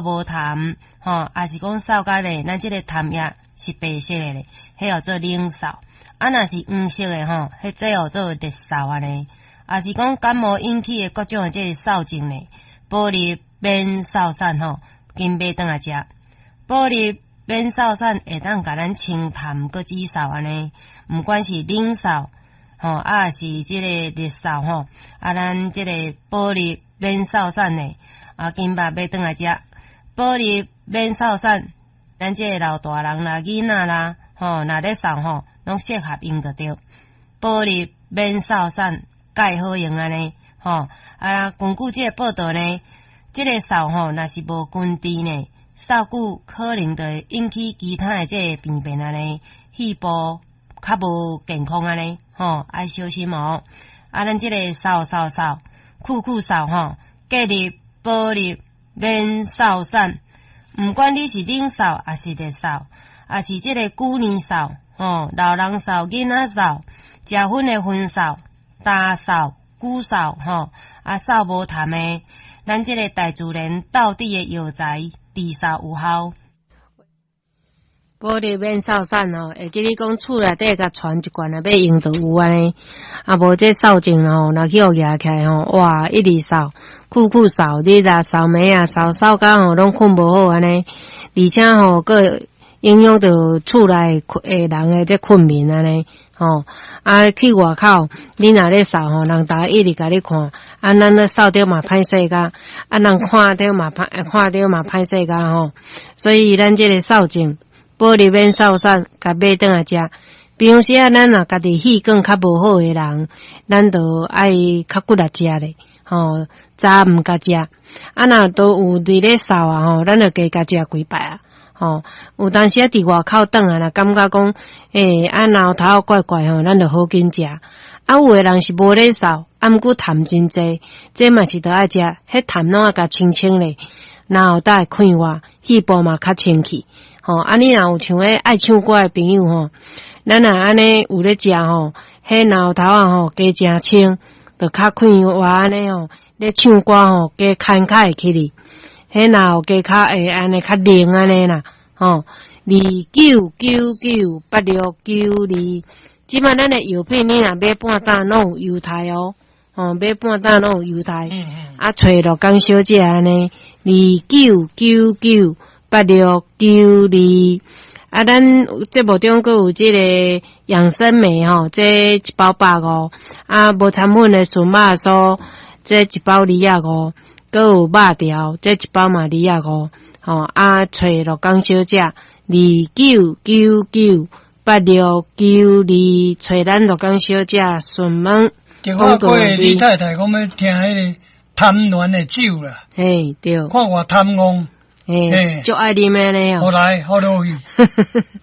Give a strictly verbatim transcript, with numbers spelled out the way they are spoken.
無痰，吼，抑是講嗽甲咧，咱這个痰液是白色的咧，彼號做冷嗽。啊，若是黃色的吼，彼這號做熱嗽按呢。抑是講感冒引起的各種的這个嗽症咧，保利免嗽散吼，緊買轉來食。保利免嗽散會當共咱清痰閣止嗽按呢，毋管是冷嗽吼，抑是這个熱嗽吼，啊，咱這个保利免嗽散呢，啊，緊捌買轉來食。保利免嗽散，咱這个老大人啦、囡仔啦，吼，若咧嗽吼，攏適合用就對。保利免嗽散蓋好用按呢，吼，啊，根據這个報道呢，這个嗽吼，若是無根治呢，嗽久可能就會引起其他的這个病變按呢，肺部較無健康按呢，吼，愛小心哦。啊，咱這个嗽嗽嗽，久久嗽吼，建議保利免嗽散，毋管你是冷嗽，抑是熱嗽，抑是這个久年嗽，吼，老人嗽、囡仔嗽，食薰的薰嗽、焦嗽、久嗽，吼，啊，嗽無痰的，咱這个大自然道地的藥材治嗽有效。保利免嗽散吼，會記你講厝內底共傳一罐啊，欲用就有按呢。啊，無這嗽症吼，若去予夯起來吼，哇，一直嗽，久久嗽，你若嗽暝啊，嗽嗽甲吼攏睏無好按呢，而且吼，閣影響著厝內的人的這睏眠按呢，吼，啊，去外口，你若咧嗽吼，人逐家一直共你看，啊，咱咧嗽著嘛歹勢甲，啊，人看著嘛歹，看著嘛歹勢甲吼，所以咱這个嗽症，保利免嗽散，共買轉來食。平常時啊，咱若家己氣管較無好的人，咱就愛較骨力食咧，吼，早毋共食。啊，若都有佇咧嗽啊，吼，咱就加共食幾擺啊，吼。有當時啊，佇外口轉來，若感覺講，欸，啊，嚨頭怪怪吼，咱就好緊食。啊，有的人是無咧嗽，啊，毋過痰真濟，這嘛是著愛食，彼痰攏愛共清清咧，然後才會快活，肺部嘛較清氣。吼，啊，你若有像彼愛唱歌的朋友吼，咱若按呢有咧食吼，彼嚨頭仔吼加誠清，就較快活按呢吼，咧唱歌吼加慷慨起去，彼嚨加較會按呢較靈按呢啦，吼，二九九九八六九二，這擺咱的藥品你若買半擔攏有優待哦，吼，買半擔攏有優待，啊，揣陸江小姐按呢，二九九九八六九二，啊，咱節目中閣有這个養生莓吼，這一包百五，啊，無摻粉的純肉酥，這一包二仔五，閣有肉條，這一包嘛二仔五，吼，啊，揣陸江小姐二九九九八六九二，揣咱陸江小姐順問。電話過你太太講欲聽彼个貪戀的酒啦，嘿，對，看我貪戇。嘿，足愛啉的呢。好來，好落去。